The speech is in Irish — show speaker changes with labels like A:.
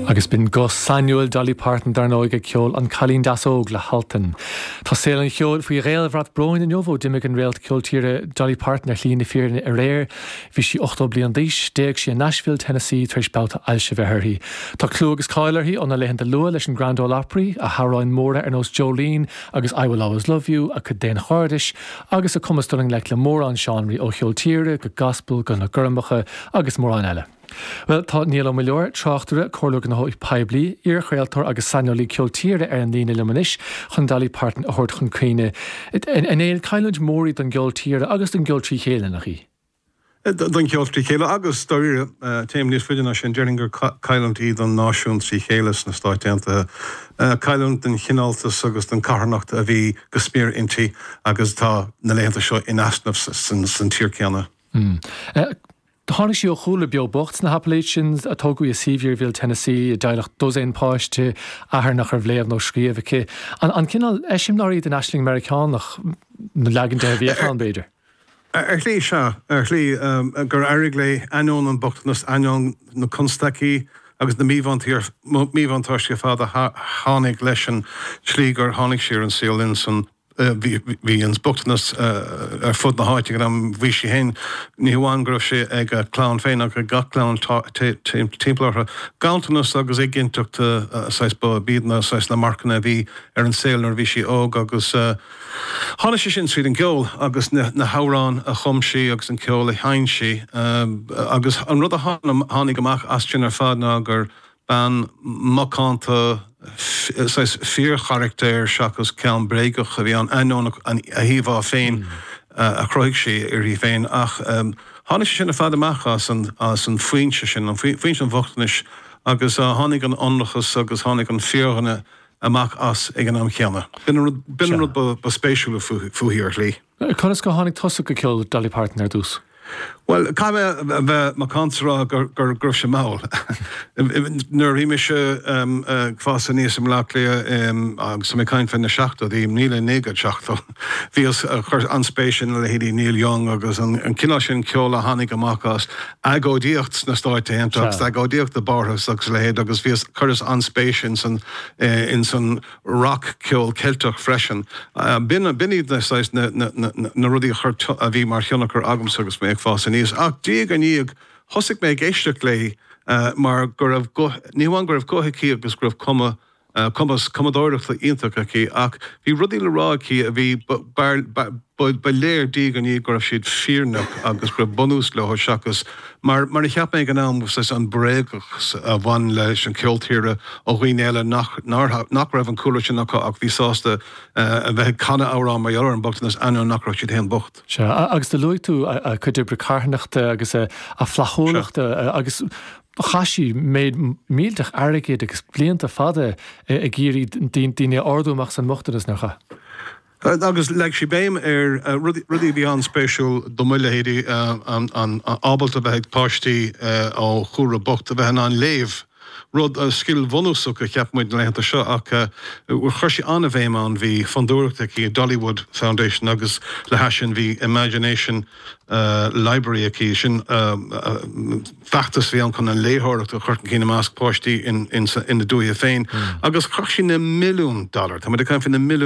A: Agus b'in guth sainiúil Dolly Parton dar ndóigh ag ceol An Cailín Deas Óg le hAltan. Tá saol an cheoil faoi ghéarbhrat bróin inniu ó d'imigh an réalt ceol tíre Dolly Parton ar shlí na fírinne aréir. Bhí sí 80 bliain d'aois. D'éag sí i Nashville, Tennessee tar éis babhta ailse a bheith uirthi. Tá clú agus cáil uirthi óna laethanta luath leis an Grand Ole Opry, a hamhráin mhóra ar nós Jolene agus I Will Always Love You, a cuid daonchairdis, agus a cumas dul i ngleic le mórán seánraí ó cheol tíre go gaspal go na gormacha agus mórán eile. Bhuel, tá Niall Ó Muilleoir, tráchtaire, comhairleoir gnóthaí poiblí, iarchraoltóir agus saineolaí ceol tíre ar an líne liom anois chun Dolly Parton a thabhairt chun cuimhne. A Néill, cailliúint mhór í don gceol tíre agus don gceol trí chéile, nach í?
B: Don cheol trí chéile agus, dáiríre, téim níos faide ná sin, déarfainn gur cailliúint í don náisiún trí chéile sna Stáit Aontaithe. Cailliúint don chineáltas agus don charthanacht a bhí go smior inti agus atá na laethanta seo in easnamh san tír céanna.
A: Tháinig sí ó chúlra beo bocht sna hAppalachians, a tógadh í i Sevierville, Tennessee, i dteaghlach dosaen páiste, athair nach raibh léamh nó scríobh aici. An cineál eiseamláirí den aisling Meiriceánach, nó leagan de a bhíodh ann, b'fhéidir?
B: Ar shlí, sea. Ar shlí, gur éirigh léi, ainneoin an bochtanas, ainneoin na constaicí agus na míbhuntáistí ar fad a tháinig leis an tslí gur tháinig sí ar an saol in san bhí an bochtanas ar fud na háite ag an am. Bhí sí féin, ní hamháin go raibh sé ag a clann féin ach ag gach clann timpeall orthu. Ganntanas agus éiginnteacht saghas ba iad na saghas na marcanna a bhí ar an saol nuair a bhí sí óg agus tháinig sé sin tríd an gceol agus na hamhráin a chum sí agus an ceol a sheinn sí agus an rud a tháinig amach as sin ar fad ná gur Bean mhacánta, saghas fíorcharachtair seachas ceann bréagach a bhí ann, ainneoin a híomhá féin a chruthaigh sí uirthi féin. Ach tháinig sé sin ar fad amach as an foinse sin, foinse an bhochtanais, agus tháinig an t-ionracas agus tháinig an fíordhuine amach as ag an am chéanna. B'in an rud ba spéisiúla fúithi ar shlí.
A: Conas go tháinig tusa go ceol Dolly Parton ar dtús?
B: Bhuel, caithfidh mé a bheith macánta is a rá go raibh sé mall. Nuair a bhí mise ag fás aníos i mBaile Átha Cliath, agus tá mé ag caint fé na seachtóidí, 1970, bhíos ag cur an-spéis ina leithéidí Neil Young agus an cineál sin ceoil a tháinig amach as agóidíocht sna Stáit Aontaithe agus agóidíocht i bPáras agus a leithéid agus bhíos, chuireas an-spéis ins an, ins an rac-cheol Ceilteach freisin. B'in iad na saghas, na rudaí a chuir, a bhí mar thionchar agamsa agus mé ag fás aníos. Ach diaidh ar ndiaidh, thosaigh mé ag éisteacht léi mar go raibh guth, ní hamháin go raibh guth aici agus go raibh cuma, cumas cumadóireachta iontach aici ach bhí rudaí le rá aici a bhí, ba léir diaidh ar ndiaidh go raibh siad fírinneach agus go raibh bunús leo seachas mar mar a cheap mé ag an am saghas an bréagachas a bhain leis an cheol tíre ó dhaoine eile nach nach raibh an cúlra sin acu ach bhí sásta a bheith ag canadh amhrán mar gheall ar an mbochtanas ainneoin nach raibh siad féin bocht.
A: Sea, agus do luaigh tú a cuid oibre carthanachta agus a flaithiúlacht agus chaith sí méid millteach airgid agus blianta fada ag iarraidh daoine a ardú amach as an mbochtanas, nár chaith?
B: Agus leag sí béim ar rudaí a bhí an-spéisiúil do mo leithéidí, an ábalta a bheith ag páistí ó chúlra bocht a bheith in ann léamh, rud, scil bhunúsach a cheap muid na laethanta seo ach chuir sí an-bhéim ann. Bhí fondúireacht aici, Dollywood Foundation, agus le hais sin bhí Imagination Library aici, sin feachtas a bhí ann chun an léitheoireacht a chur chun cinn i measc páistí ina dúiche féin agus chaith sí na milliúin dollar, tá muid ag caint faoi na milliúin.